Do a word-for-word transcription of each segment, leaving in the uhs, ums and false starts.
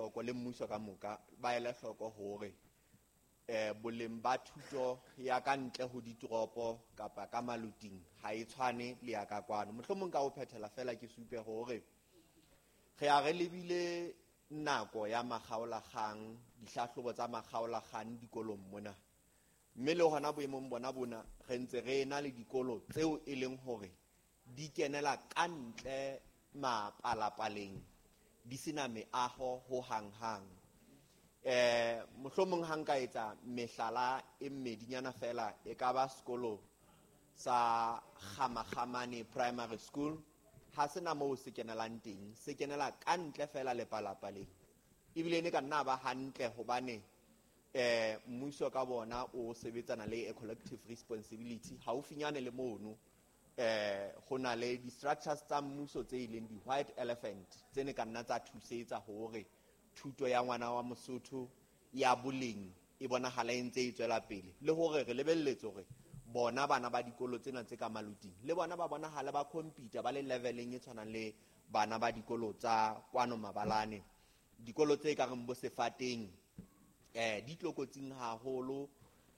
hloko le mmuso ka moka ba ele hloko hore eh boleng ba thuto ya ka ntle ho ditoropo kapa ka maloting ha e tshwane le ya ka kwano. Mohlomong ka ho phethela fela ke supe hore re a re lebile nako ya makgaolakgang, dihlahlobo tsa makgaolakgang dikolong mona, mme le hona boemong bona bona re ntse re ena le dikolo tseo e leng hore di kenela ka ntle mapalapaleng, di sena meaho ho hang-hang. Eh mohlomong ha nka etsa mehlala e mmedinyana fela, e ka ba sekolo sa Kgamakgamane Primary School, ha sena moo se kenelang teng, se kenela ka ntle fela lepalapaleng. Ebile ne ka nna ba hantle hobane eh mmuso ka bona o sebetsana le a collective responsibility haufinyane le mono. Eh ho na le di-structures tsa mmuso tse ileng di-white elephant tse ne ka nna tsa thusetsa hore thuto ya ngwana wa Mosotho ya boleng e bonahala e ntse e tswela pele, le hore re lebelletse hore bona bana ba dikolo tsena tse ka maloting le bona ba bonahale ba compete ba le leveleng e tshwanang le bana ba dikolo tsa kwano mabalane. Dikolo tse ka reng bo Sefateng eh di tlokotsing haholo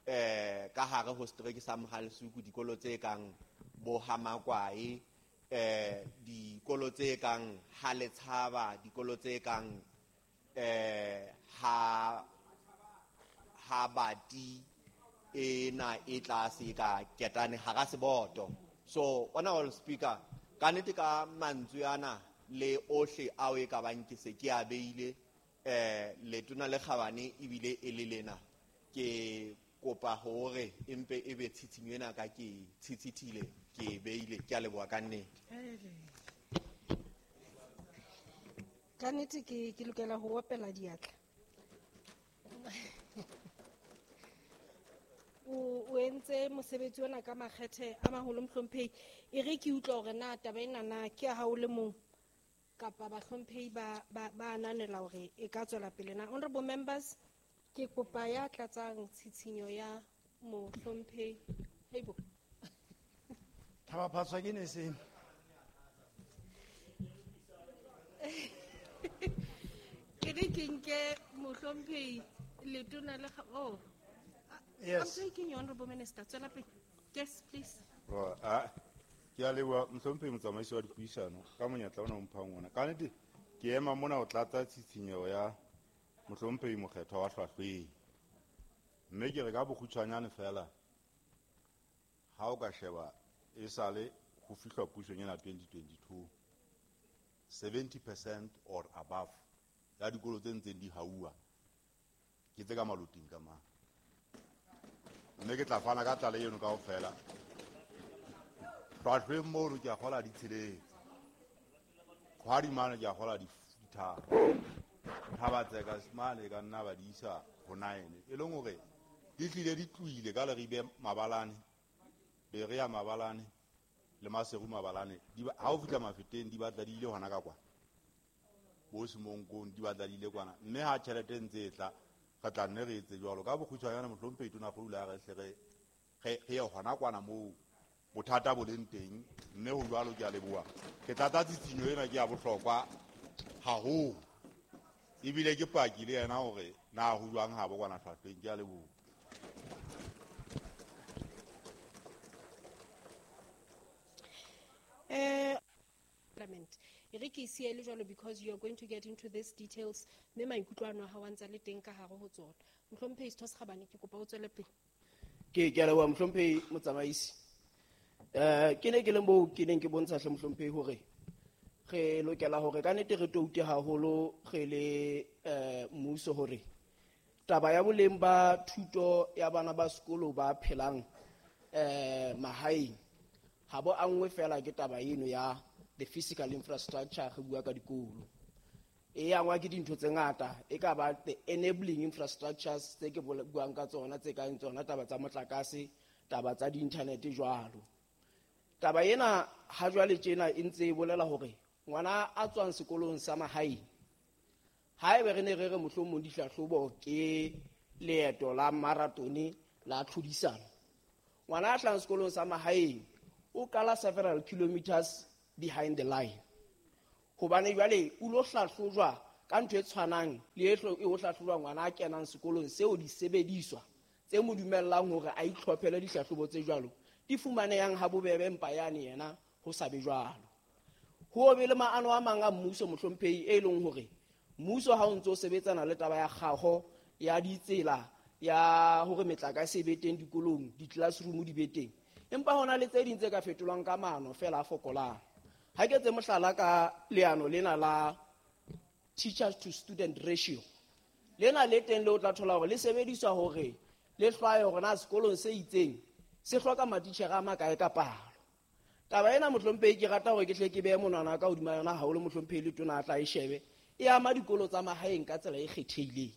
eh ka hare ho setereke sa Mohalesuku, dikolo tse kang bo Hamakwae, eh dikolo tse kang Haletshaba, dikolo tse kang eh ha ha bati ena e tlase ka ketane hara seboto. So honorable speaker, ka nnete ka mantswe ana le ohle ao e ka bang ke se ke a beile eh letona le kgabane ebile e le lena, ke kopa hore empe e be tshitshinyo ena ka ke tshitshithile ke beile. Ke a leboha ka nnete. Ka nnete ke ke lokela ho opela diatla. O o entse mosebetsi ona ka makgethe a maholo mohlomphehi. E re ke utlwa hore na taba ena na ke ya hao le mong kapa bahlomphehi ba ba ba ananela hore e ka tswela pele na. Honorable members, ke kopa ya tlatsang tshitshinyo ya mohlomphehi. Heibo. Thaba phatswa ke ne se. Ke re ke nke mohlomphehi letona le kga-, oh. Yes. I'm taking you, Honorable Minister. Tswela pele. Yes, please. Well, ah, ke a leboha mohlomphehi motsamaisi wa dipuisano ka monyetla ona o mphang ona. Ka nnete ke ema mona ho tlatsa tshitshinyo ya mohlomphehi mokgethwa wa Hlwahlweng. Mme ke re ka bokgutshwanyane fela, ha o ka sheba e sale ho fihlwa pusong ena twenty twenty-two, seventy percent or above ya dikolo tse ntseng di hauwa ke tse ka maloting ka mane. Mme ke tla fana ka tlale eno kaofela. Hlwahlweng mono ke a kgola di tsheletse, kgwadi mane ke a kgola di tharo, Thabatseka mane ka nna ba di isa ho nine, e leng hore di hlile di tlohile ka Leribe mabalane, Berea mabalane le Maseru mabalane. Di ba, ha o fihla Mafeteng di batla di ile hona ka kwana, bo Semonkong di batla di ile kwana. Mme ha tjhelete e ntse e tla, re tla nne re etse jwalo. Ka bokgutshwanyane mohlomphehi Tonakgolo a re hle re, re, re ye hona kwana moo bothata bo leng teng, mme ho jwalo ke a leboha. Ke tlatsa tshitshinyo ena ke ya bohlokwa haholo, ebile ke paki le yena hore na ho jwang ha bo kwana Hlwahlweng. Ke a leboha. Eh, Parliament. E re ke siye le jwalo because you are going to get into these details, mme maikutlo ano a hao a ntse a le teng ka hare ho tsona. Mohlomphehi Setho se Kgabane, ke kopa o tswele pele. Ke, ke a leboha mohlomphehi motsamaisi. Eh, ke ne ke le moo ke neng ke bontsha hle mohlomphehi hore re lokela hore ka nnete re toute haholo re le, eh, mmuso hore taba ya boleng ba thuto ya bana ba sekolo ba phelang, eh, mahaeng ha bo angwe fela ke taba eno ya the physical infrastructure re bua ka dikolo. E angwa ke dintho tse ngata, e ka ba the enabling infrastructures tse ke bole-, buang ka tsona, tse kang tsona taba tsa motlakase, taba tsa di-internet jwalo. Taba ena ha jwale tjena e ntse e bolela hore ngwana a tswang sekolong sa mahaeng, haebe re ne re re mohlomong dihlahlobo ke leeto la marathone la tlhodisano, ngwana a hlahang sekolong sa mahaeng o kala several kilometers behind the line, hobane jwale o lo hlahlojwa ka ntho e tshwanang le e ho hlahlojwa ngwana a kenang sekolong seo disebediswa tse mo dumellang hore a itlhophele dihlahlobo tse jwalo di fumanehang ha bobebe empa yane yena ho sa be jwalo. Ho be le maano a mang a mmuso mohlomphehi e leng hore mmuso ha o ntso sebetsana le taba ya kgaho ya ditsela ya hore metlakase e be teng dikolong, di-classroom di be teng, empa hona le tse ding tse ka fetolwang ka maano fela a fokolang. Ha ke etse mohlala ka leano lena la teachers to student ratio, lena le teng le o tla thola hore le sebediswa hore le hlwaye hore na sekolong se itseng se hloka matitjhere a makae ka palo. Taba ena mohlomphehi ke rata hore ke hle ke behe monwana ka hodima yona haholo mohlomphehi le tona a tla e shebe, e ama dikolo tsa mahaeng ka tsela e kgethehileng.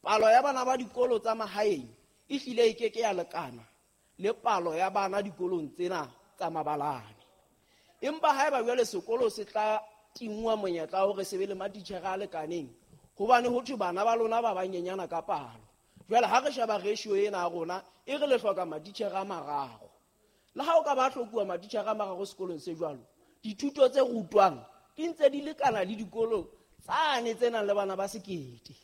Palo ya bana ba dikolo tsa mahaeng e hlile e keke ya lekana le palo ya bana dikolong tsena tsa mabalane. Empa haeba jwale sekolo se tla tingwa monyetla hore se be le matitjhere a lekaneng, hobane ho thwe bana ba lona ba banyenyana ka palo. Jwale ha re sheba ratio ena ya rona e re le hloka matitjhere a mararo. Le ha o ka ba hlokuwa matitjhere a mararo sekolong se jwalo, dithuto tse rutwang di ntse di lekana le dikolo tsane tse nang le bana ba sekete.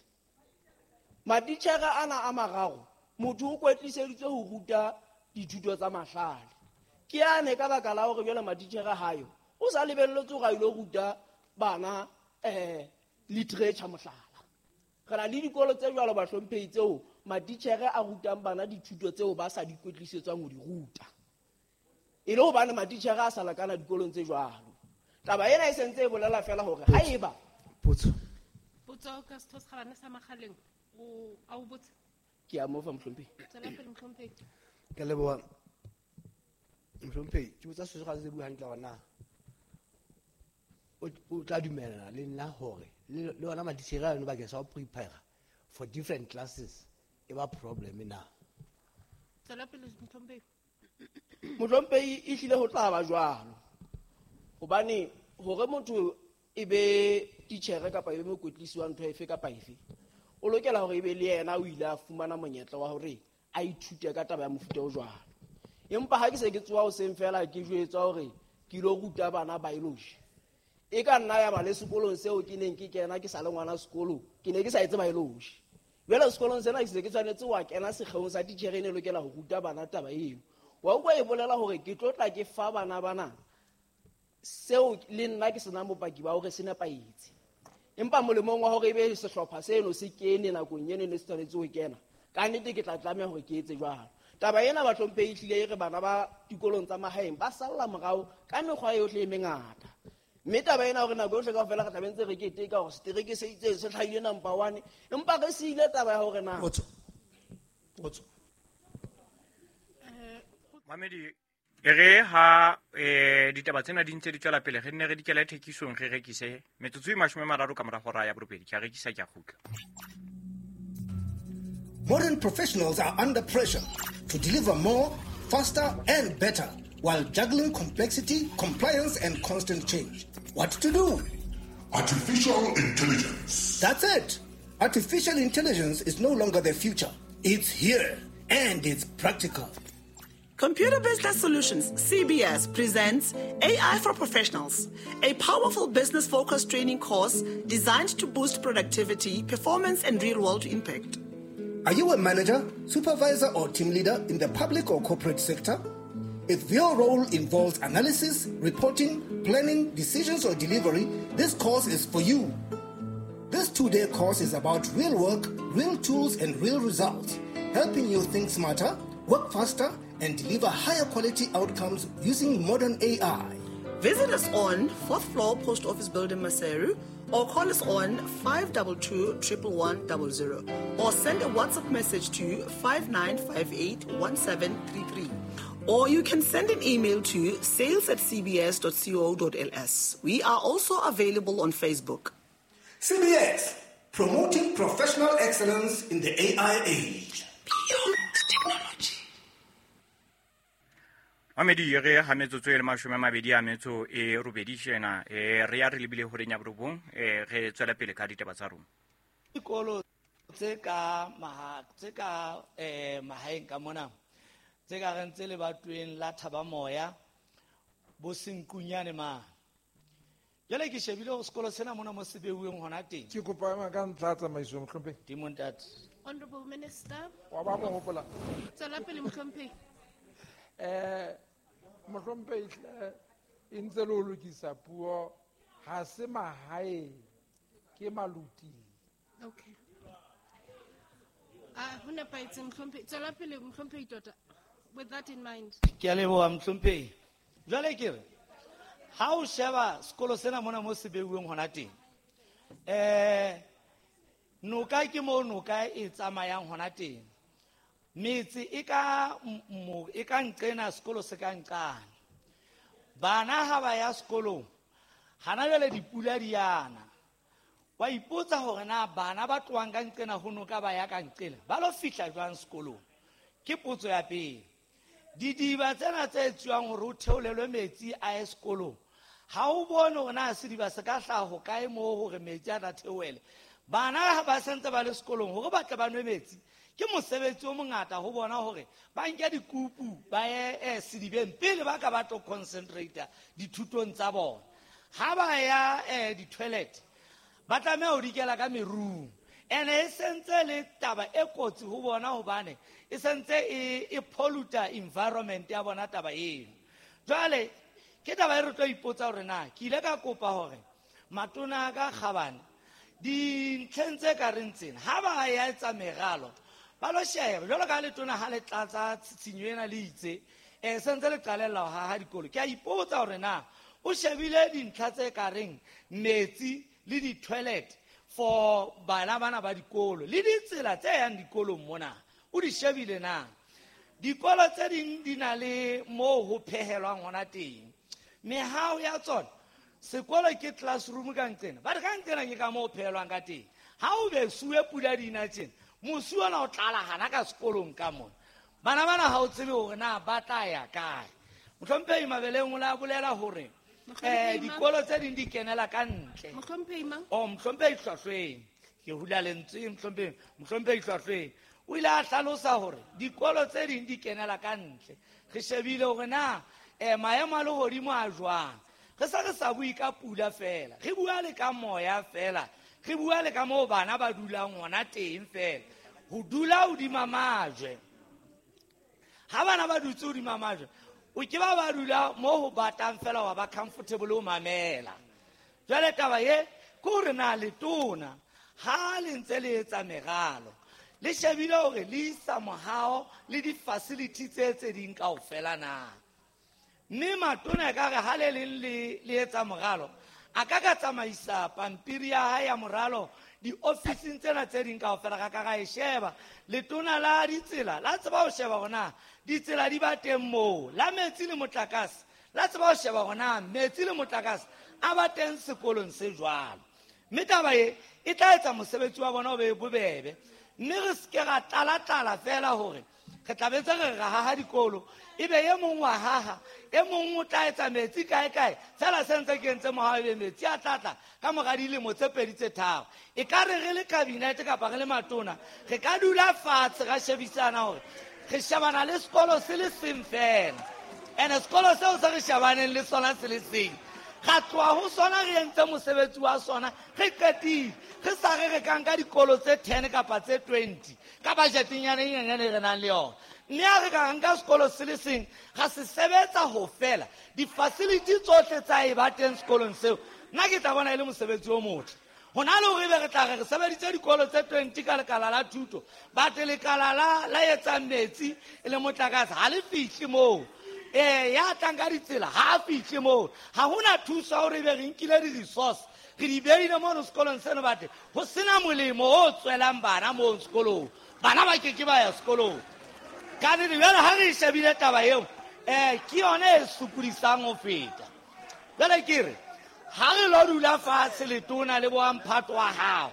Matitjhere ana a mararo motho o kwetliseditswe ho ruta dithuto tsa mahlale. Ke ane ka baka la hore jwale matitjhere hayo o sa lebelletse hore a ilo ruta bana eh literature mohlala. Re na le dikolo tse jwalo bahlomphehi tseo matitjhere a rutang bana dithuto tseo ba sa di kwetlisetswang ho di ruta. E le hobane matitjhere a sa lekana dikolong tse jwalo. Taba ena e sentse e bolela fela hore haeba potso potso ka setho sa bana sa Makgaleng o a o botse ke a mo fa mohlomphehi. Tswela pele mohlomphehi. Ke leboha mohlomphehi, ke botsa se ga se bua hantle hore na o tla dumela le nna hore le yona matitjhere a yona bakeng sa ho prepare for different classes e ba problem na. Tswela pele mohlomphehi. Mohlomphehi e hlile ho tla ba jwalo. Hobane hore motho e be titjhere kapa e be mokwetlisi wa ntho efe kapa efe, o lokela hore e be le yena o ile a fumana monyetla wa hore a ithute ka taba ya mofuta o jwalo. Empa ha ke se ke tsoha hoseng fela ke jwetswa hore ke ilo ruta bana biology, e ka nna ya ba le sekolong seo ke neng ke kena ke sa le ngwana sekolo, ke ne ke sa etse biology. Jwale sekolong sena ke se ke tshwanetse wa kena sekgeong sa titjhere e ne lokela ho ruta bana taba eo. Wa utlwa e bolela hore ke tlo tla ke fa bana bana seo le nna ke senang bopaki ba hore se nepahetse. Empa molemong wa hore ebe sehlopha seno se kene nakong eno ne se tshwanetse ho kena, ka nnete ke tla tlameha hore ke etse jwalo. Taba ena bahlomphehi ehlile e re bana ba dikolong tsa mahaeng ba salla morao ka mekgwa yohle e mengata. Mme taba ena hore nako yohle kaofela re tla be ntse re keteka hore setereke se itseng se hlahile number one, empa re siile taba ya hore na Potso. Potso. Mamedi e re ha eh ditaba tsena di ntse di tswela pele re nne re dikela thekisong re rekise metsotso e mashome a mararo ka mora hora ya borobedi ke a rekisa ke a kgutla. Modern professionals are under pressure to deliver more, faster and better while juggling complexity, compliance and constant change. What to do? Artificial intelligence. That's it. Artificial intelligence is no longer the future. It's here and it's practical. Computer Business Solutions, C B S, presents A I for Professionals, a powerful business-focused training course designed to boost productivity, performance, and real-world impact. Are you a manager, supervisor, or team leader in the public or corporate sector? If your role involves analysis, reporting, planning, decisions, or delivery, this course is for you. This two-day course is about real work, real tools, and real results, helping you think smarter, work faster, and deliver higher quality outcomes using modern A I. Visit us on fourth floor Post Office Building, Maseru, or call us on five two two, one one one zero, or send a WhatsApp message to five nine five eight, one seven three three. Or you can send an email to sales at c b s dot co dot l s. We are also available on Facebook. C B S, promoting professional excellence in the A I age. Beyond technology. Mamedi re ha metsotso e le mashome a mabedi a metso e robedi tjena e re ya re lebile horeng ya borobong e re tswela pele ka ditaba tsa rona. Dikolo tse ka maha tse ka eh mahaeng ka mona tse ka reng tse lebatweng la Thaba Moya bo Senkunyane ma Jwale ke shebile hore sekolo sena mona mo se beuweng hona teng. Ke kopa ema ka ntlha tsamaiso mohlomphehi. Temo ntate. Honorable Minister. Wa ba mo hopola. Tswela pele mohlomphehi. Eh mohlomphehi e ntse le ho lokisa puo ha se mahae ke maluti. Okay. Ah, ho nepahetse mohlomphehi. Tswela pele mohlomphehi tota. With that in mind. Ke a leboha mohlomphehi. Jwale ke re ha o sheba sekolo sena mona mo se beuweng hona teng, eh noka ke mo noka e tsamayang hona teng. Metse e ka mo e ka nqena sekolo se ka nqane. Bana ha ba ya sekolong hana jwale dipula di yana. Wa ipotsa hore na bana ba tlohang ka nqena ho noka ba ya ka nqena ba lo fihla jwang sekolong? Ke potso ya pele. Didiba tsena tse etsuwang hore ho theolelwe metsi a ye sekolong, ha o bone hore na sediba se ka hlaha hokae moo hore metsi a tla theohele. Bana ha ba sentse ba le sekolong hore ba tle ba nwe metsi, ke mosebetsi o mongata ho bona hore ba nke dikupu ba ye eh, sedibeng pele ba ka ba tlo concentrate dithutong tsa bona. Ha ba ya eh, di-toilet ba tlameha ho dikela ka merung. Ene e sentse le taba e kotsi ho bona hobane e sentse e, e polluta environment ya bona taba eno. Jwale ke taba e re tlo ipotsa hore na ke ile ka kopa hore matona ka kgabane dintlheng tse ka reng tsena ha ba ya etsa meralo ba lo sheba jwalo ka letona ha le tlatsa tshitshinyo ena le itse eh sentse le qalella ho haha dikolo. Ke a ipotsa hore na o shebile dintlha tse ka reng metsi le di-toilet for bana bana ba dikolo le ditsela tse yang dikolong mona o di shebile na? Dikolo tse ding di na le moo ho phehelwang hona teng, mehao ya tsona sekolo ke classroom ka nqena ba re ka nqena ke ka moo ho phehelwang ka teng. Ha o besuwe pula dina tjena mosi ona o tlala hana ka sekolong ka mona, bana bana ha o tsebe hore na ba tla ya kae. Mohlomphehi Mabeleng o la bolela hore eh dikolo tse ding di kenela ka ntle. Mohlomphehi mang? Oh, mohlomphehi Hlwahlweng. Ke hula lentswe mohlomphehi, mohlomphehi Hlwahlweng. O ile a hlalosa hore dikolo tse ding di kenela ka ntle. Re shebile hore na eh maemo a lehodimo a jwang. Re sa re sa bue ka pula fela, re bua le ka moya fela, re bua le ka moo bana ba dulang hona teng fela. Ho dula hodima majwe. Ha bana ba dutse hodima majwe, o ke ba ba dula mo ho batang fela wa ba comfortable ho mamela. Jwale taba ye ke hore na letona ha le ntse le etsa meralo le shebile hore le isa mohao le di-facility tse tse ding kaofela na. Mme matona ekare ha le leng le le etsa moralo a ka ka tsamaisa pampiri ya hae ya moralo diofising tsena tse ding kaofela ra ka ra e sheba. Letona la ditsela la tseba ho sheba hore na ditsela di ba teng moo, la metsi le motlakase la tseba ho sheba hore na metsi le motlakase a ba teng sekolong se jwalo. Mme taba e e tla etsa mosebetsi wa bona o be bobebe, mme re se ke ra tlala-tlala fela hore re tla be ntse re re haha dikolo ebe e mong wa haha e mong o tla etsa metsi kae kae fela se ntse ke entse mohao ebe metsi a tlatla ka mora dilemo tse pedi tse tharo. E ka re re le kabinete kapa re le matona re ka dula fatshe ra shebisana hore re shebana le sekolo se le seng fela, ene sekolo seo se re shebaneng le sona se le seng ra tloha ho sona re entse mosebetsi wa sona re qetile, re sa re re ka nka dikolo tse ten kapa tse twenty ka budgetenyana e nyenyane e re nang le yona. Mme ha re ka nka sekolo se le seng ra se sebetsa ho fela di-facility tsohle tsa e ba teng sekolong seo, nna ke tla bona e le mosebetsi o motle. Hona le hore ebe re tla re re sebeditse dikolo tse twenty ka lekala la thuto, but lekala la la etsang metsi e le motlakase ha le fihle moo. Eh ya tlang ka ditsela ha a fihle moo. Ha hona thuso ya hore ebe re nkile di-resource re di beile mono sekolong seno, batle ho sena molemo o tswelang bana moo sekolong, bana ba ke ke ba ya sekolong. Ka nnete jwale ha re e shebile taba eo eh ke yona e sokodisang ho feta. Jwale ke re ha re lo dula fatshe letona le bo mphato wa hao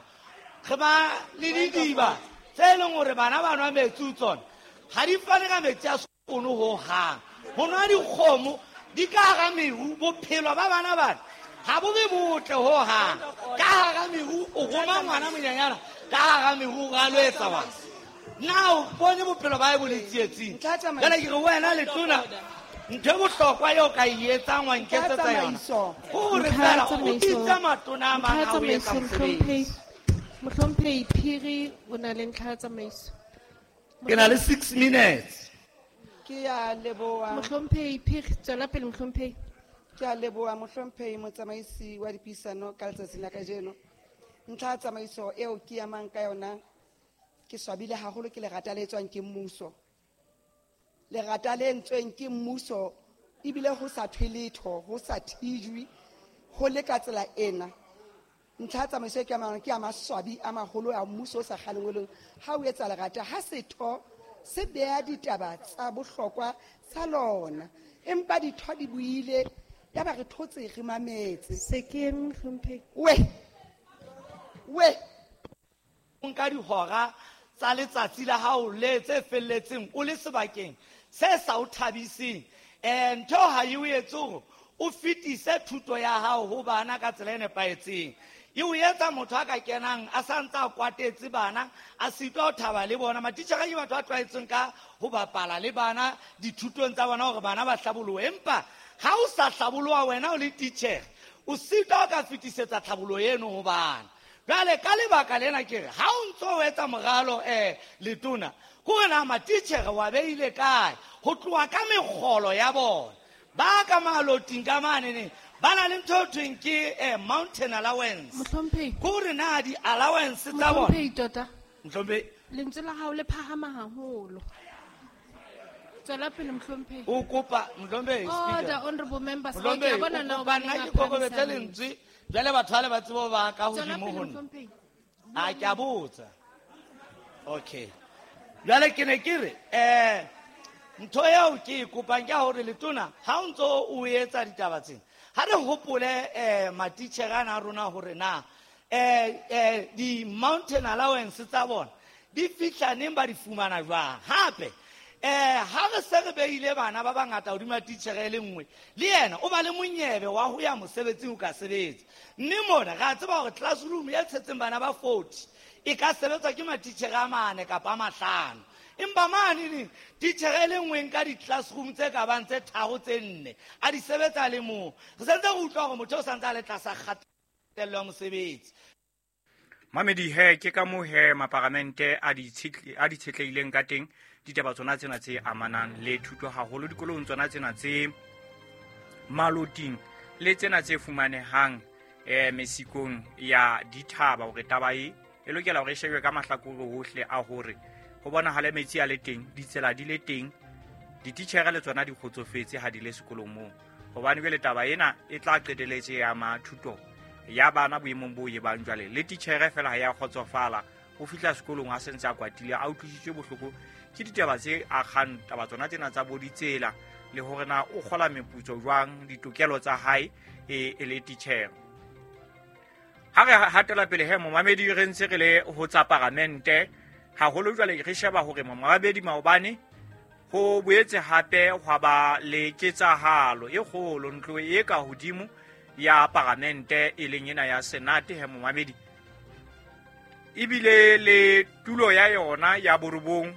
re ba le didiba tse e leng hore bana ba nwa metsi ho tsona ha di fane ka metsi a sekono ho hang. Ho nwa dikgomo di ka hara meru, bophelo ba bana bana ha bo be botle ho hang. Ka hara meru o roma ngwana monyanyana ka hara meru ra lo etsa bana. Na o bone bophelo ba e bo le tsietsing. Jwale ke re wena letona Ntho e bohlokwa eo ka e etsang wa nketsetsa yona hore fela o bitsa matona a mang a o etsa mosebetsi. Mohlomphehi Phiri o na le ntlha ya tsamaiso. Ke na le six minutes. Ke a leboha. Mohlomphehi Phiri, tswela pele mohlomphehi. Ke a leboha mohlomphehi motsamaisi wa dipuisano ka letsatsi la kajeno. Ntlha ya tsamaiso eo ke amang ka yona ke swabile haholo ke lerata le tswang ke mmuso. Lerata le entsweng ke mmuso ebile ho sa thwe letho, ho sa thijwe, ho le ka tsela ena. Ntlha ya tsamaiso e ke amang ke ya maswabi a maholo a mmuso o sa kgalengweleng ha o etsa lerata ha setho se beha ditaba tsa bohlokwa tsa lona, empa ditho di buile ya ba re thotse re mametse. Se ke eme mohlomphehi. We we nka dihora tsa letsatsi la hao le tse felletseng o le sebakeng se sa o thabiseng, eh ntho ha e o etse hore o fetise thuto ya hao ho bana ka tsela e nepahetseng. E o etsa motho a ka kenang a sa ntse a kwatetse bana, a sitwa ho thaba le bona. Matitjhere ke batho ba tlwaetseng ka ho bapala le bana dithutong tsa bona hore bana ba hlabolohe, empa ha o sa hlaboloha wena o le titjhere o sitwa ho ka fetisetsa tlhaboloho eno ho bana. Jwale ka lebaka lena ke re ha o ntso o etsa moralo eh letona hore na matitjhere wa beile kae ho tloha ka mekgolo ya bona ba ka maloting ka mane ba na le ntho e thweng ke eh, mountain allowance. Mohlomphehi, hore na di-allowance tsa bona. Mohlomphehi tota, Mohlomphehi, lentswe la hao le phahama haholo. Tswela pele mohlomphehi. O kopa mohlomphehi speaker. Order, honorable members. Ke a bona na o nna ke kokobetse lentswe jwale batho ba le ba tsebo ba ka hodimo ho nna. A ke a botsa. Okay. Jwale ke ne ke re eh ntho eo ke e kopang ke hore letona ha o ntso o etsa ditaba tsena ha re hopole eh matitjhere ana a rona hore na eh eh di-mountain allowance tsa bona di fihla neng, ba di fumana jwang. Hape eh ha re se re beile bana ba bangata hodima titjhere e le nngwe, le yena o ba le monyebe wa ho ya mosebetsing o ka sebetsa. Mme mona re a tseba hore classroom e tshetseng bana ba forty e ka sebetswa ke matitjhere a mane kapa a mahlano, empa mane neng titjhere e le nngwe nka di-classroom tse ka bang tse tharo tse nne a di sebetsa le mong. Re sentse re utlwa hore motho o santse a le tlasa kgatello ya mosebetsi. Mamedi he ke ka moo he maparamente a di tshetlehileng ka teng ditaba tsona tsena tse amanang le thuto haholo dikolong tsona tsena tse maloting le tsena tse fumanehang eh mesikong ya dithaba, hore taba e e lokela hore e shebwe ka mahlakore hohle a hore ho bonahale metsi a le teng, ditsela di le teng, dititjhere le tsona di kgotsofetse ha di le sekolong moo, hobane jwale taba ena e tla qeteletse ya ma thuto ya bana boemong bo e bang jwale le titjhere fela ha ya kgotsofala ho fihla sekolong a sentse a kwatile a utlwisitswe bohloko ke ditaba tse akgang taba tsona tsena tsa bo ditsela le hore na o kgola meputso jwang, ditokelo tsa hae e e le titjhere. Ha re hatela pele he momamedi re ntse re le ho tsa paramente haholo jwale re sheba hore momamedi maobane ho boetse hape hwa ba le ketsahalo e kgolo ntlo e ka hodimo ya paramente e leng ena ya Senate he momamedi, ebile le tulo ya yona ya borobong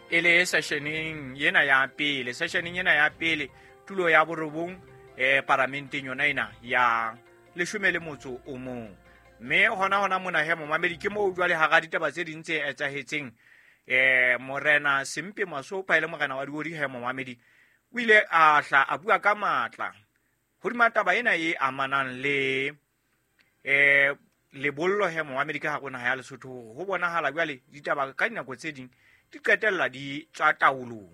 e le sessioneng ena ya pele, sessioneng ena ya pele tulo ya borobong eh paramenteng yona ena ya leshome le motso o mong. Mme hona hona mona he momamedi ke moo jwale hara ditaba tse ding tse etsahetseng eh morena Sempe Masopa e le morena wa Diodi he momamedi o ile a hla a bua ka matla hodima taba ena e amanang le eh lebollo he momamedi ka hare ho naha ya Lesotho ho bonahala jwale ditaba ka dinako tse ding di qetella di tswa taolong.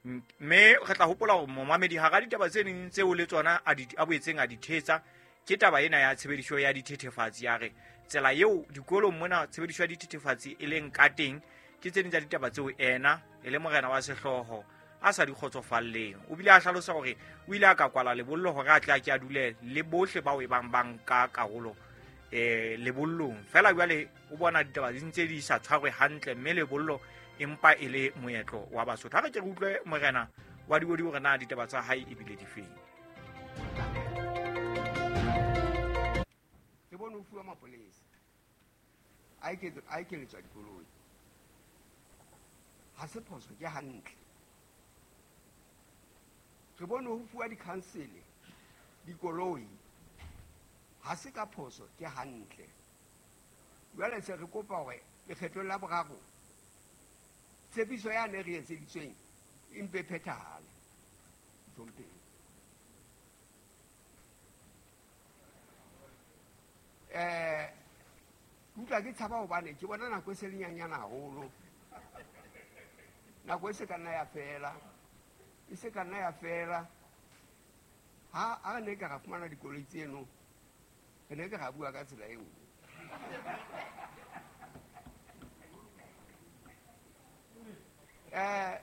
Mme re tla hopola hore momamedi hara ditaba tse ding tseo le tsona a di a boetseng a di thetsa ke taba ena ya tshebediso ya dithethefatsi. Ya re tsela eo dikolong mona tshebediso ya dithethefatsi e leng ka teng ke tse ding tsa ditaba tseo ena e le morena wa sehlooho a sa di kgotsofalleng. O bile a hlalosa hore o ile a ka kwala lebollo hore a tle a ke a dule le bohle bao e bang ba nka karolo eh lebollong. Fela jwale o bona ditaba di ntse di sa tshwarwe hantle mme lebollo empa e le moetlo wa Basotho. Ha re ke re utlwe morena wa Diodi hore na ditaba tsa hae ebile di feng. Re bone ho fuwa mapolesa a ekeletswa dikoloi, ha se phoso, ke hantle. Re bone ho fuwa dikhansele dikoloi ha se ka phoso, ke hantle. Jwale se re kopa hore lekgetlong la boraro tshepiso yane re etseditsweng e mpe phethahale. Mohlomphehi. Eh, utlwa ke tshaba hobane ke bona nako e se le nyanyana haholo. Nako e se ka nna ya fela. E se ka nna ya fela. Ha a ne ka ra fumana dikoloi tseno, re ne ke ra bua ka tsela e nngwe. Eh,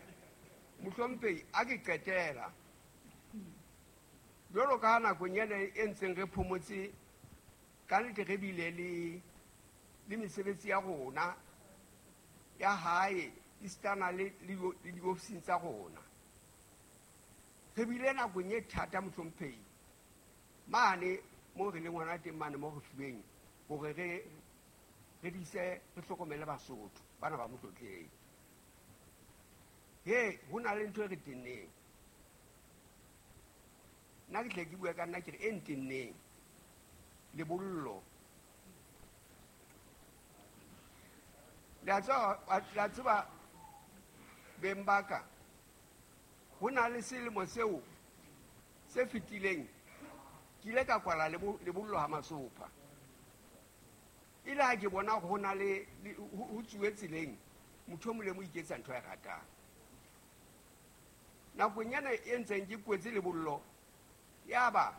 mohlomphehi, a ke qetela. Jwalo ka nakong ena e ntseng re phomotse, ka nnete re bile le, le mesebetsi ya rona ya hae esitana le, le, le diofising tsa rona. Re bile nakong e thata mohlomphehi mane mo re leng hona teng mane mo re fuweng hore re, re dise, re hlokomele Basotho bana ba Motlotleng. He, ho na le ntho e re tenneng. Nna ke tle ke bue ka nna ke re e ntenneng. Lebollo. Le a tseba, le a tseba beng ba ka, ho na le selemo seo se fetileng ke ile ka kwala lebollo ha Masopha. E le ha ke bona ho na le, le ho tsuwe tseleng, motho o mong le mong o iketsa ntho a e ratang. Nakong ena e ntseng ke kwetse lebollo, yaba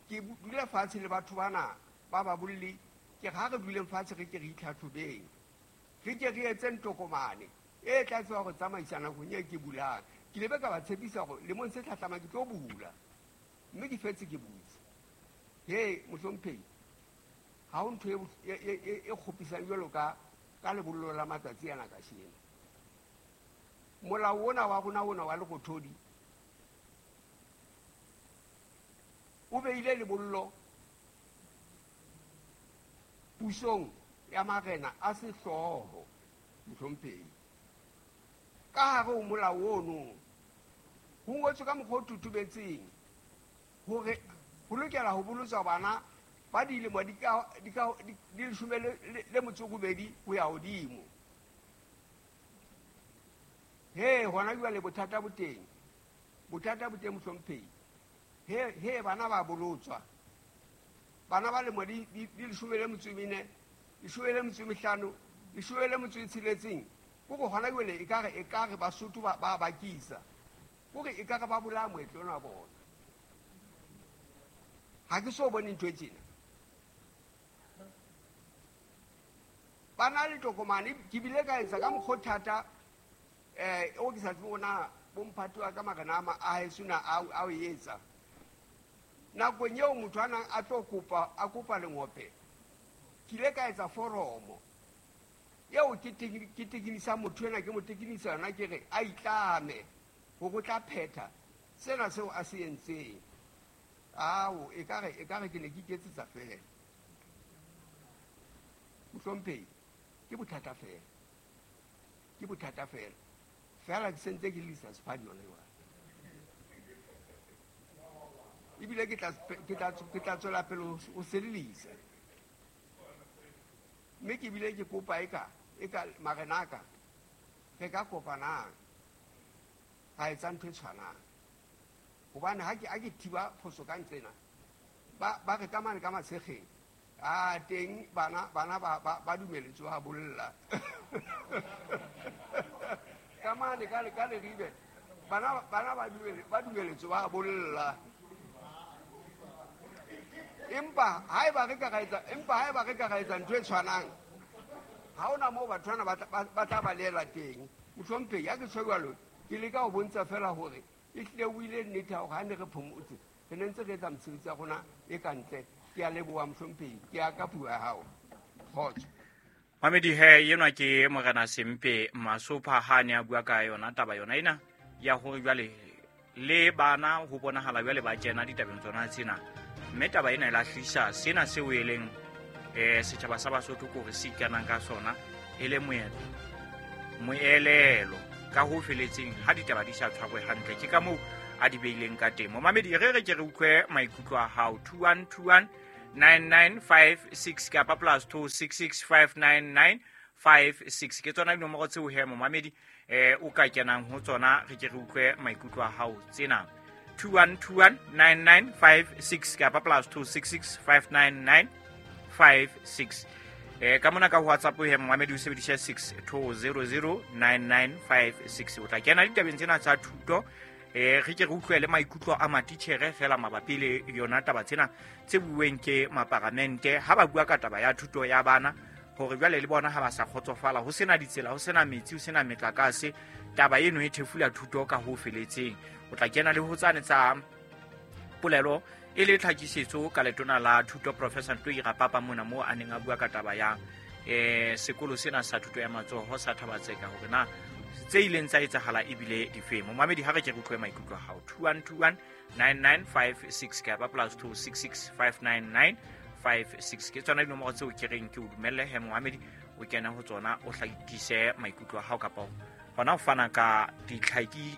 ke dula fatshe le batho bana ba ba bolli, ke re ha re duleng fatshe re ke re itlhatlhobeng, re ke re etseng tokomane e tla tseba go tsamaisa nakong e ke bulang. Ke lebe ka ba tshepisa gore lemong se tlhatlhamang ke tlo bula, mme ke fetse ke butse. He, mohlomphehi, ha ho ntho e, e, e, e kgopisang jwalo ka, ka lebollo la matsatsi ana kasheno. Molao ona wa rona ona wa Lerothodi o beile lebollo pusong ya marena a sehlooho, mohlomphehi. Ka hare ho molao ono ho ngotswe ka mokgwa o totobetseng hore ho lokela ho bolotswa bana ba dilemo di ka, di ka, di, di leshome le, le, le motso robedi ho ya hodimo. He, hona jwale bothata bo teng. Bothata bo teng, mohlomphehi. He, he bana ba bolotswa. Bana ba lemo di, di, di leshome le metso e mene, leshome le metso e mehlano, leshome le metso e tsheletseng. Kore hona jwale ekare, ekare Basotho ba, ba bakisa. Kore ekare ba bolaya moetlo ona wa bona. Ha ke so bone ntho e tjena. Ba na le tokomane, ke bile ka etsa ka mokgwa o thata, eh, o ke sa tsebe hore na bomphato wa ka marena a ma-, a heso na a, a o etsa. Nakong eo motho a nang a tlo kopa, a kopa lengope, ke ile ka etsa foromo eo ke tekeni-, ke tekenisa motho ena, ke mo tekenisa yona, ke re a itlame hore o tla phetha sena seo a se entseng. Ao, ekare, ekare ke ne ke iketsetsa feela. Mohlomphehi, ke bothata feela. Ke bothata feela. Feela ke sentse ke lisa sephadi yona jwale. Ebile ke tla, ke tla, ke tla tswela pele ho, ho se lelisa. Mme ke bile ke kopa eka, eka marena a ka, re ka kopanang, ra etsa ntho e tshwanang. Hobane ha ke, ha ke thiba phoso ka nqena, ba, ba re ka mane ka Matshekgeng, a teng bana, bana ba, ba, ba dumeletswe ha bolla. Ka mane ka le, ka Leribe, bana, bana ba dumele, ba dumeletswe ba bolla. Empa haeba re ka ra etsa, empa haeba re ka ra etsa ntho e tshwanang, ha hona moo batho bana ba tla, ba, ba tla baleela teng. Mohlomphehi, ha ke tjho jwalo, ke leka ho bontsha feela hore ehlile o ile nnete hore ha ne re phomotse, re ne ntse re etsa mesebetsi ya rona e ka ntle. Ke a leboha, mohlomphehi, ke a ka puo ya hao. Kgotso. Mamedi he, enwa ke Morena Sempe Masopha ha ne a bua ka yona taba yona ena ya hore jwale le bana ho bonahala jwale ba kena ditabeng tsona tsena. Mme taba ena e lahlisa sena seo e leng, eh, setjhaba sa Basotho ke hore se ikanang ka sona e le moetlo, moelelo. ka ho feletseng ha ditaba di sa tshwarwe hantle. Ke ka moo a di beileng ka teng. Momamedi, re re ke re utlwe maikutlo a hao. Two one two one nine nine five six kapa plus two six six five nine nine five six. Ke tsona dinomoro tseo he momamedi eh o ka kenang ho tsona, re ke re utlwe maikutlo a hao tsena. Two one two one nine nine five six kapa plus two six six five nine nine five six. Eh ka mona ka WhatsApp he momamedi o sebedisa six two zero zero nine nine five six. O tla kena ditabeng tsena tsa thuto. Eh re ke re utlwe le maikutlo a matitjhere fela mabapi le yona taba tsena tse bueng ke maparamente ha ba bua ka taba ya thuto ya bana, hore jwale le bona ha ba sa kgotsofala, ho sena ditsela, ho sena metsi, ho sena metlakase, taba eno e thefula thuto ka ho feletseng. O tla kena le ho tsane tsa polelo e le tlhakisetso ka letona la thuto Professor Ntoi Rapapa mona moo a neng a bua ka taba ya eh sekolo sena sa thuto ya matsoho sa Thabatseka, hore na tse ileng tsa etsahala ebile difeng. Momamedi, ha re ke re utlwe maikutlo a hao. Two one two one nine nine five six kapa plus two six six five nine nine five six. Ke tsona dinomoro tseo ke reng ke o dumelle he momamedi o kena ho tsona, o hlakise maikutlo a hao kapa hona ho fana ka ditlhaki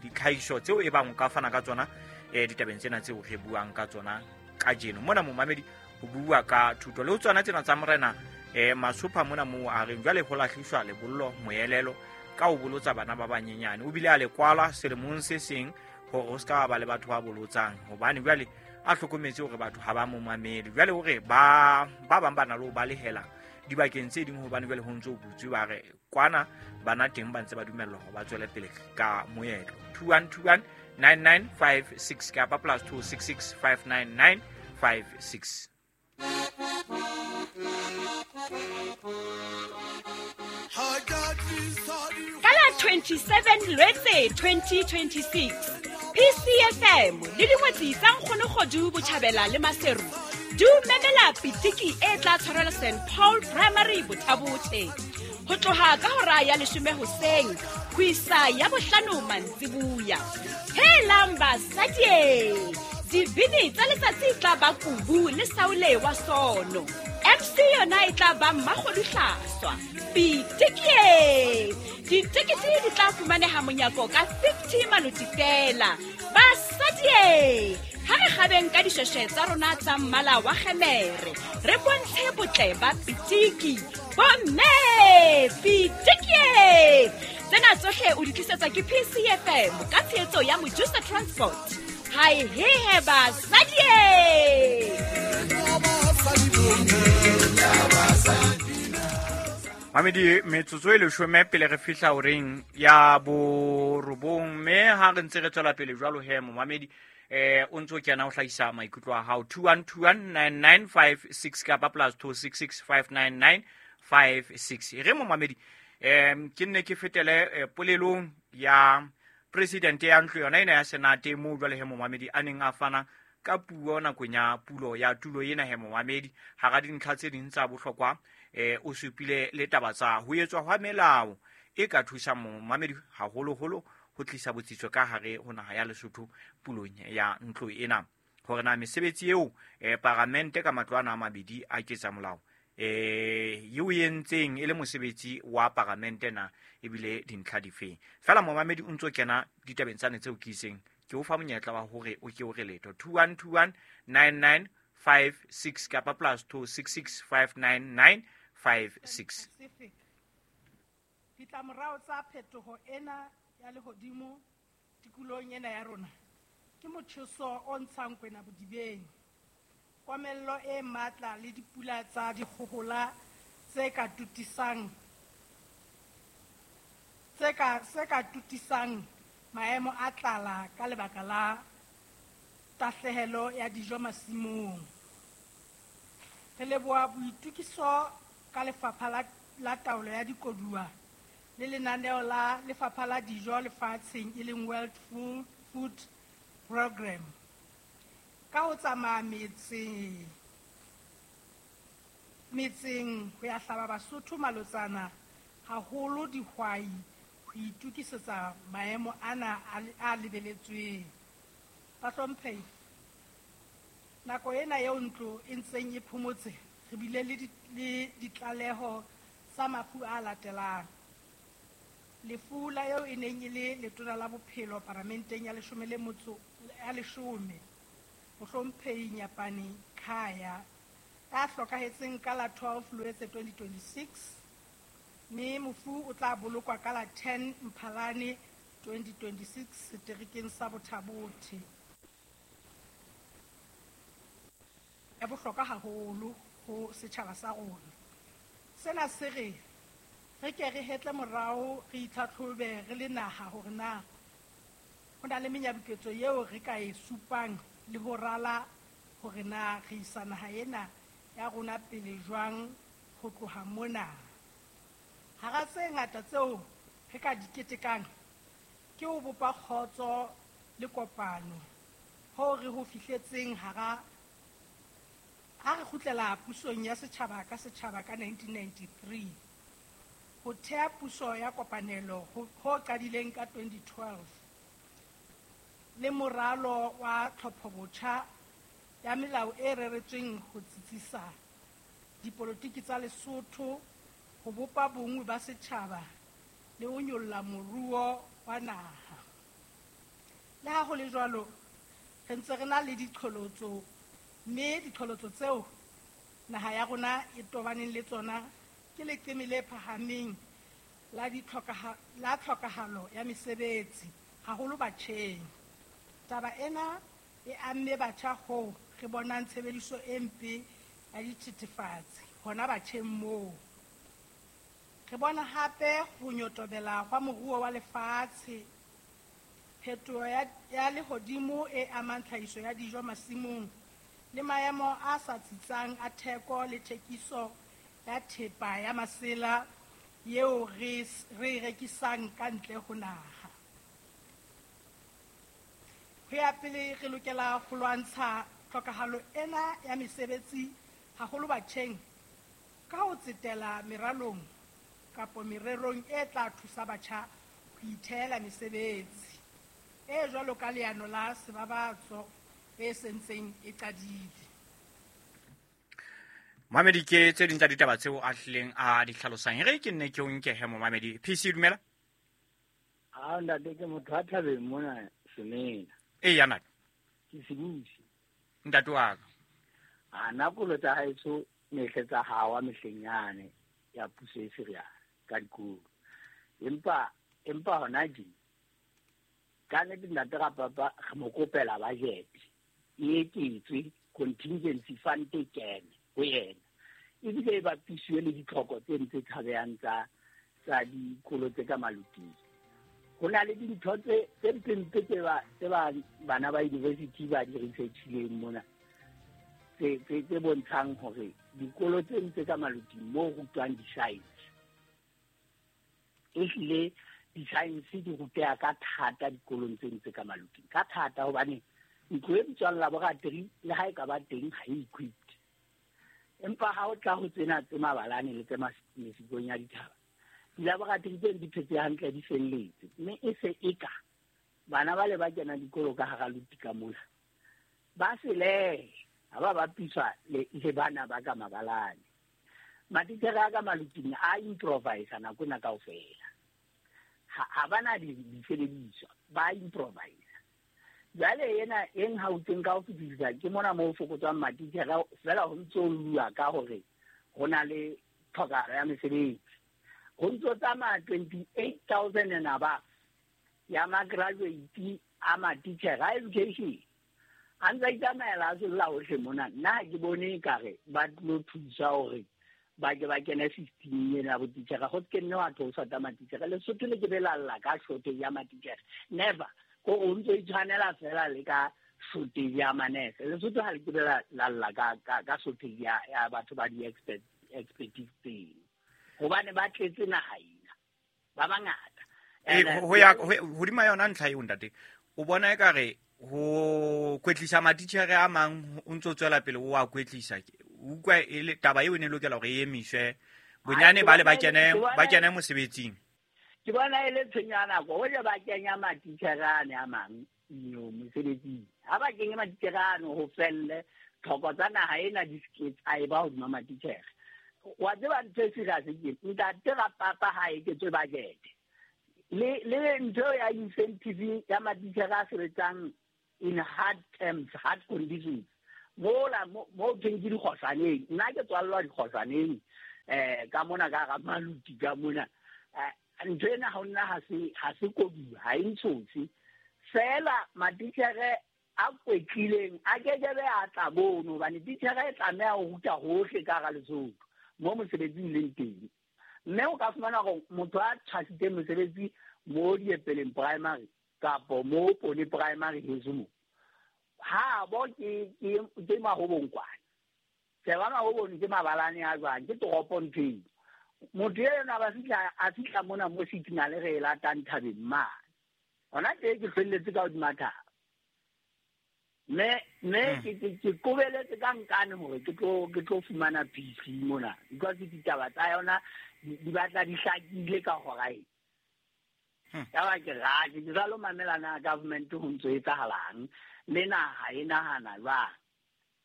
ditlhahiso tseo e bang o ka fana ka tsona eh ditabeng tsena tseo re buang ka tsona kajeno. Mona momamedi ho bua ka thuto le ho tsona tsena tsa morena eh Masopha mona moo a reng jwale ho lahliswa lebollo moelelo ka ho bolotsa bana ba banyenyane. O bile a le kwala selemong se seng hore ho ska ba le batho ba bolotsang, hobane jwale a hlokometse hore batho ha ba mo mamele. Jwale hore ba ba bang ba na le ho balehela dibakeng tse ding, hobane jwale ho ntso ho butswe, ba re kwana bana teng ba ntse ba dumellwa hore ba tswele pele ka moetlo. Two one two one nine nine five six kapa plus two six six five nine nine five six. Ka la twenty-seven Lwetse twenty twenty-six, P C F M le dingwetsi tsa Nkgono Kgodu Botjhabela le Maseru di o memela pitiki e tla tshwarelwa Saint Paul Primary Bothabothe ho tloha ka hora ya leshome hoseng ho isa ya bohlano mantsibuya. Helang basadi, dibini tsa letsatsi tla ba Kubu le Saule wa Sono. M C yona e tla ba Mmakgodu Hlaswa. Pitiki! Ditekete di tla fumaneha monyako ka fifty maloti fela. Basadi, ha re kgabeng ka dishweshwe tsa rona tsa mmala wa kgemere, re bontshe botle ba pitiki. Bomme, pitiki! Tsena tsohle o di tlisetswa ke P C F M ka tshehetso ya Mojusa Transport. Hai hehe basadi! Mamedi, metsotso e leshome pele re fihla horeng ya borobong, mme ha re ntse re tswela pele jwalo he momamedi eh o ntso kena ho hlahisa maikutlo a hao. Two one two one nine nine five six kapa plus two six six five nine nine five six. E re momamedi em ke nne ke fetele polelong ya president ya ntlo yona ena ya Senate moo jwale he momamedi a neng a fana ka puo nakong ya pulo ya tulo ena he momamedi. Hara dintlha tse ding tsa bohlokwa eh o supile le taba tsa ho etswa hwa melao e ka thusang momamedi haholoholo ho tlisa botsitso ka hare ho naha ya Lesotho pulong ya ntlo ena, hore na mesebetsi eo eh paramente ka matlo ana a mabedi a ketsa molao eh eo entseng e le mosebetsi wa paramente na ebile dintlha difeng. Fela momamedi o ntso kena ditabeng tsane tseo ke iseng ke o fa monyetla wa hore o ke o re letho. Two one two one nine nine five six kapa plus two six six five nine nine five six. Ditlamorao tsa phetoho ena ya lehodimo tikolohong ena ya rona ke motjheso o ntshang kwena bodibeng, komello e matla le dipula tsa dikgohola tse ka tutisang tse ka se ka tutisang maemo a tlala ka lebaka la tahlehelo ya dijo masimong. Re leboha boitokiso ka lefapha la, la taolo ya dikoduwa le lenaneo la lefapha la dijo lefatsheng e leng World Food, Food Program ka ho tsamaya metseng metseng ho ya hlaba Basotho malotsana haholo dihwai ho itokisetsa maemo ana a lebeletsweng. Bahlomphehi, nako ena eo ntlo e ntseng e phomotse, re bile le ditlaleho tsa mafu a latelang: Lefu la eo e neng e le letona la bophelo paramenteng ya leshome le motso ya leshome, Mohlomphehi Nyapane Khaya, ya hlokahetseng ka la twelve Loetse twenty twenty-six, mme mofu o tla bolokwa ka la ten Mphalane twenty twenty-six seterekeng sa Bothabothe. Ya bohlokwa haholo ho setjhaba sa rona. Sena se re re ke re hetle morao re itlhatlhobe re le naha hore na ho na le menyabuketso eo re ka e supang le ho rala hore na re isa naha ena ya rona pele jwang ho tloha mona. Hara tse ngata tseo re ka di ketekang ke ho bopa kgotso le kopano ho re ho fihletseng hara ha re kgutlela pusong ya setjhaba ka setjhaba ka nineteen ninety-three, ho thea puso ya kopanelo ho qadileng ka twenty twelve le moralo wa tlhophobotjha ya melao e reretsweng ho tsitsisa dipolotiki tsa Lesotho, ho bopa bonngwe ba setjhaba le ho nyolla moruo wa naha. Le ha ho le jwalo, re ntse re na le diqholotso, mme diqholotso tseo naha ya rona e tobaneng le tsona ke leqeme le phahameng la ditlhokaha la tlhokahalo ya mesebetsi haholo batjheng. Taba ena e amme batjha hoo re bonang tshebediso e mpe ya dithethefatsi hona batjheng moo. Re bona hape ho nyotobela hwa moruo wa lefatshe, phetoho ya, ya lehodimo e amang tlhahiso ya dijo masimong le maemo a sa tsitsang a theko le thekiso ya thepa ya masela eo re re rekisang ka ntle ho naha. Ho ya pele re lokela ho lwantsha tlhokahalo ena ya mesebetsi haholo batjheng ka ho tsetela meralong kapa mererong e tla thusa batjha ho ithehela mesebetsi e jwalo ka leano la sebabatso e sentseng e qadile. Mamedi, ke tse ding tsa ditaba tseo a hlileng a di hlalosang. Re ke nne ke o nke he momamedi. P C dumela. Ha ntate ke motho a thabeng mona Semena. E ya ntate. Ke sebusi. Ntate wa ka. A na kolo tsa haeso mehle tsa hawa mehleng yane ya puso e serious ka dikolo. Empa empa hona ji ka nnete ntate ga papa re mo kopela budget e eketswe contingency fund e kene ho yena, ebile e bapisiwe le ditlhoko tse ntse tshabehang tsa tsa dikolo tse ka maluting. Ho na le dintho tse tse mpempe tse ba tse ba bana ba university ba di researchileng mona tse tse tse bontshang hore dikolo tse ntse ka maluting moo rutwang di-science, ehlile di-science di ruteha ka thata dikolong tse ntse ka maluting ka thata, hobane ntlo e bitswang laboratory le ha e ka ba teng ha e equipped. Empa ha o tla ho tsena tse mabalane le tse mesikong ya dithaba, dilaboratory tseno di phetse hantle, di felletse, mme e se e ka bana ba le ba kena dikolo ka hara luti ka mona ba selehe ha ba bapiswa le le bana ba ka mabalane. Matitjhere a ka maluting a improvise nako ena kaofela, ha ba na disebediswa, ba improvise. Jwale ena e nhautseng ka ho fetisisa ke mona moo fokotswang matitjhere fela ho ntso lua ka hore ho na le tlhokahalo ya mesebetsi. Ho ntso tsamaya twenty-eight thousand and above ya ma-graduate a matitjhere a education a ntse a itsamaela a solla hohle mona. Nna ha ke bone ekare ba tlo thusa hore ba ke ba kene system ena ya botitjhere, ho se ke nne wa theoswa tsa matitjhere. Lesotho le ke be la lla ka shortage ya matitjhere, never. Ko o ntso itshwanela fela le ka shortage ya manese. Lesotho ha le ke be la lla ka ka ka shortage ya ya batho ba di-expert expertise tseno, hobane ba tletse naha ena ba bangata. E ho ya hodima yona ntlha eo ntate, o bona ekare ho kwetlisa matitjhere a mang o ntso tswela pele o a kwetlisa, o utlwa e le taba eo e ne lokela hore e emiswe bonyane ba le ba kene ba kene mosebetsing. Ke bona e le tshenyo ya nako hoja ba kenya matitjhere ane a mang no mosebetsing. Ha ba kenye matitjhere ano ho felle tlhoko tsa naha ena di se tsa e ba hodima matitjhere. Wa tseba ntho e serious ke ntate ga papa ha eketswe budget Le le ntho ya incentive ya matitjhere a sebetsang in hard terms, hard conditions. Mola mo teng ke dikgohlaneng, nna ke tswallwa dikgohlaneng eh ka mona ka ga maluti ka mona. Ntho ena ha nna ha se ha se koduwa, ha e ntshotse. Fela matitjhere a kwetlileng a kekebe a tla bono hobane titjhere e tlameha ho ruta hohle ka hara Lesotho mo mosebetsing leng teng. Mme o ka fumana hore motho a tshwasitseng mosebetsi mo Diepeleng primary kapo mo Pone primary heso mo, ha bo ke ke ke Mahobong kwana. Sheba Mahobong ke mabalane a jwang, ke toropo ntho eo. Motho ena ba fihla a fihla mona mo signal re e latang thabeng mane. Hona teng ke felletse ka hodima thaba. Me me ke ke ke kobeletse ka nkane hore ke tlo ke tlo fumana P C mona because ditaba tsa yona di batla di hlakile ka hora e. Ya ba ke ra ke jalo mamela na government ho ntso etsahalang le naha e nahana jwang.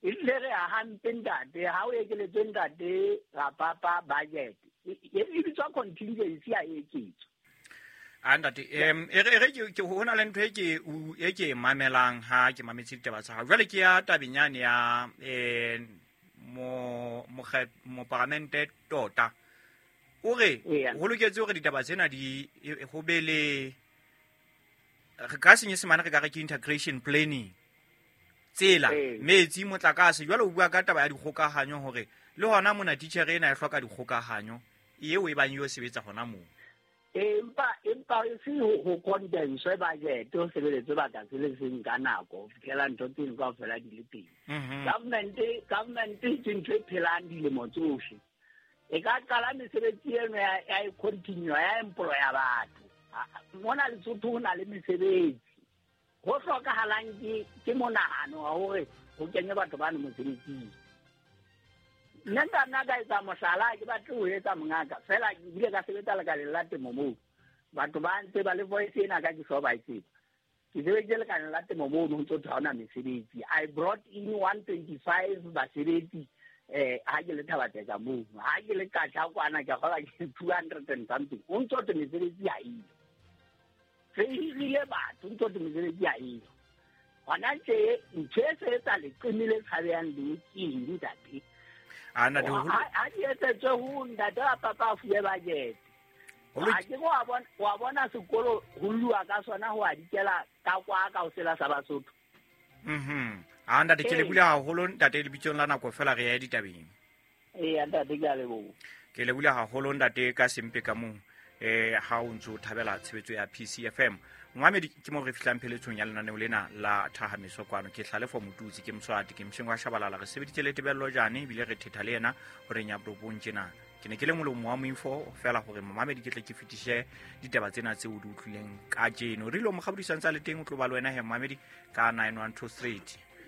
E tle re a hampe ntate ha o ekeletswe ntate Rapapa budget e e bitswa contingency ya eketso. A ntate em e re ke ke hona le ntho e ke e ke mamelang ha ke mametse ditaba tsa hao. Jwale ke ya tabenyane ya eh mo mo paramente tota. O re ho loketse hore ditaba tsena di ho be le re ka senyesemane re ka re ke integration planning. Tsela metsi motlakase jwale o bua ka taba ya dikgokahanyo hore le hona mona teacher ena e hloka dikgokahanyo eo e bang yo sebetsa hona moo. Empa empa e se ho condense budget ho sebeletse baka se le seng ka nako ho fihlela ntho tseno kaofela di le teng. Government government ke ntho e phelang dilemo tsohle. E ka qala mesebetsi eno ya ya e continue ya employa batho. Mona Lesotho ho na le mesebetsi. Ho hlokahalang ke ke monahano wa hore ho kenye batho bano mosebetsing. Nna nka nna ka etsa mohlala, ke batle ho etsa mongaka fela ke bile ka sebetsa lekaleng la temo moo. Batho ba ntse ba le voice ena ka ke so ba e tseba. Ke sebeditse lekaleng la temo moo ho ntso thwe ha hona mesebetsi. I brought in one twenty-five basebetsi eh ha ke le Thabatseka moo. Ha ke le Katla kwana ke kgola ke two hundred and something. Ho ntso thwe mesebetsi ha eyo. Re hirile batho ntso thwe mesebetsi ha eyo. Hona tje ntho e se etsa leqeme le tshabehang le ke eng ntate? Ana do ha di etsetswe ho ntate wa papa a fuwe budget. Ha ke wa bona wa bona sekolo ho lua ka sona ho a dikela ka kwa ka ho sela sa Basotho. Mhm. A ntate ke le bula haholo ntate lebitsong la nako fela re ya ditabeng. Ee ntate ke a leboha. Ke le bula haholo ntate ka sempe ka mong eh ha o ntso thabela tshebetso ya P C F M. Momamedi ke mo re fihlang pheletsong ya lenaneo lena la Thahameso kwano. Ke Hlalefo Motutsi, ke Mswati, ke Mshengwa Shabalala. Re sebeditse le Tebello Jane ebile re thetha le yena hore nya borobong tjena. Ke ne ke le molomo wa moifo fela hore momamedi ke tle ke fetise ditaba tsena tseo di utlwileng kajeno. Re lo mokgabudisang tsa le teng o tlo ba le wena he momamedi ka nine one two three.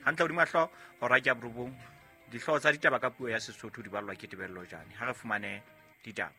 Hantle hodima hlooho hora ke ya borobong. Dihlooho tsa ditaba ka puo ya Sesotho di ballwa ke Tebello Jane. Ha re fumane ditaba.